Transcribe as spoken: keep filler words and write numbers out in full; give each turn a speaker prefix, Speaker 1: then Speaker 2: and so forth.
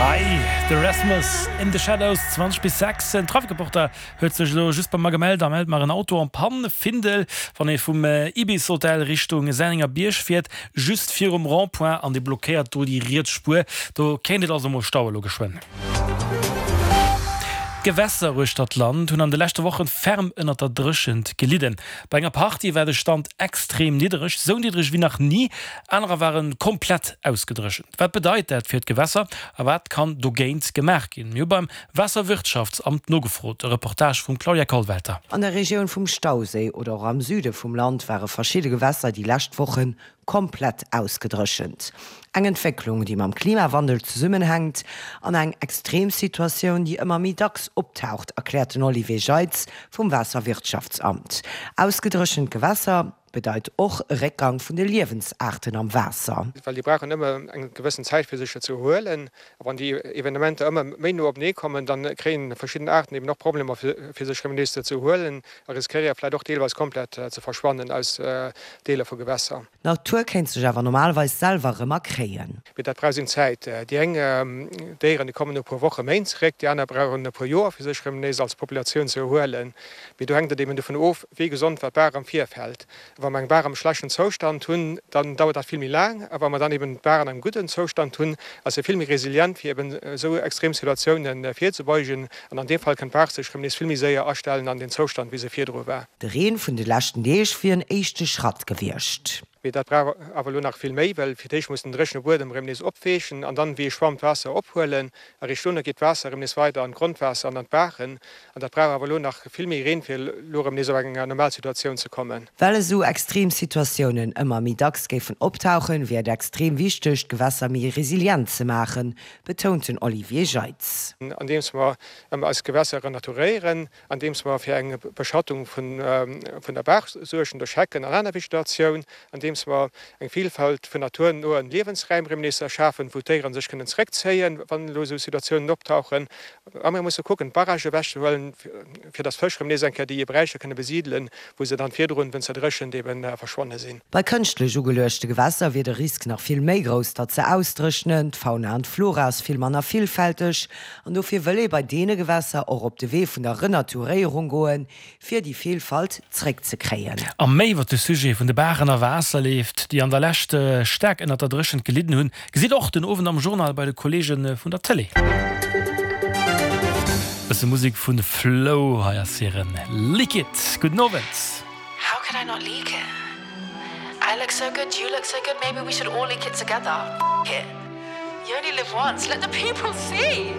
Speaker 1: Hei de Rasmus, In the Shadows, zwanzeg bis sechs. Den Trafikreporter huet sech elo just bei mer gemellt a mellt mer en Auto en panne, Findel, wann ee vum Ibis Hotel Richtung Sennenger Bierg fiert, just virum Rond-point an dee blockéiert do déi riets Spuer. Do kéint et also mol staue lo geschwënn. D'Gewässer uechter d'Land hunn an de leschte Wochen ferm ënnert der Dréchent gelidden. Bei enger Partie war de Stand extrem niddereg, sou niddereg wéi nach ni, anerer ware komplett ausgedréchent. Wat bedeit dat fir d'Gewässer a wat kann dogéint gemaach ginn? Mir hu beim Waasserwirtschaftsamt nogefrot. E Reportage vum Claudia Kollwelter.
Speaker 2: An der Regioun vum Stauséi oder och am Süde vum Land ware verschidde Gewässer déi lescht Woche komplett ausgedréchent. Eng Entwécklung, déi mam Klimawandel zesummenhänkt an eng Extremsituatioun, déi ëmmer méi dacks optaucht, erkläert den Olivier Jeitz vum Waasserwirtschaftsamt. Ausgedréchent Gewässer bedeit och e Réckgang vun de Liewensaarten am Waasser.
Speaker 3: Well déi brauchen ëmmer eng gewëssen Zäit fir sech ze erhuelen. A wann déi Evenementer ëmmer méi no openee kommen, da kréien verschidden Aarten eben och Problemer fir sech erëm nees ze erhuelen a riskéiere vläicht och deelweis komplett ze verschwannen aus Deeler vu Gewässer.
Speaker 2: D'Natur kéint sech awer normalerweis selwer erëm erkréien.
Speaker 3: Mee dat brauch seng Zäit. Déi eng Déieren, déi kommen no e puer Wochen, Méint zeréck, déi aner brauchen e puer Joer, fir sech erëm nees als Populatioun ze erhuelen. Mee do hänkt et eben dovun of, wéi gesond wat d'Baach am Virfeld. Wa mer eng Baach am schlechten Zoustand hunn, dann dauert dat vill méi laang. A wa mer dann eben d'Baach an engem gudden Zoustand hunn, ass se vill méi resilient, fir eben esou extrem Situatiounen virzebeugen. An an deem Fall kënnt d'Baach sech erëm nees vill méi séier astellen an den Zoustand, wéi se virdru war.
Speaker 2: De Reen vun de leschten Deeg wier en éischte Schratt gewiescht.
Speaker 3: Mee dat brauch awer elo nach vill méi, well fir d'éischt muss den dréchene Buedem erëm nees opweechen an dann wéi e Schwamm d'Waasser ophuelen. Eréischt dono geet d'Waasser erëm nees weider an d'Grondwaasser an an d'Baachen. An dat brauch awer elo nach vill méi Reen, fir elo erëm nees op eng normal Situatioun ze kommen.
Speaker 2: Well esou extrem Situatiounen ëmmer méi dacks géifen optauchen, wier et extrem wichteg, d'Gewässer méi resilient ze maachen, betount den Olivier Jeitz.
Speaker 3: Andeems mer eis Gewässer renaturéieren, andeems mer fir eng Beschattung vun der Baach suergen duerch Hecken an aner Vegetatioun, andeems mer eng Vilfalt vun naturnoen Liewensräim erëm nees erschafen, wou d'Déiere sech kënnen zeréckzéien, wann elo esou Situatiounen optauchen. A mir musse kucken, d'Barrage ewechzehuelen, fir datt d'Fësch erëm nees eng Kéier déi Beräicher kënne besidelen, wou se dann virdrun, wéinst der Dréchent, ebe verschwonne sinn.
Speaker 2: Bei kënschtlech ugeluechte Gewässer wier de Risk nach vill méi grouss, datt se ausdréchnen. D'Fauna an d'Flora ass vill manner villfälteg an dofir wëll ee bei deene Gewässer och op de Wee vun der Renaturéierung goen, fir déi Vilfalt zréckzekréien.
Speaker 1: A méi iwwer de Sujet vun de Baachen a Waasserleef, déi an der Lescht staark ënnert der Dréchent gelidden hunn, gesitt och den Owend am Journal bei de Kolleege vun der Tëlee. Bësse Musek vun Flow, hei ass hiren Leak It. Gudden Owend.
Speaker 4: How could I not leak it? I look so good, you look so good, maybe we should all leak it together. F it. You only live once, let the people see!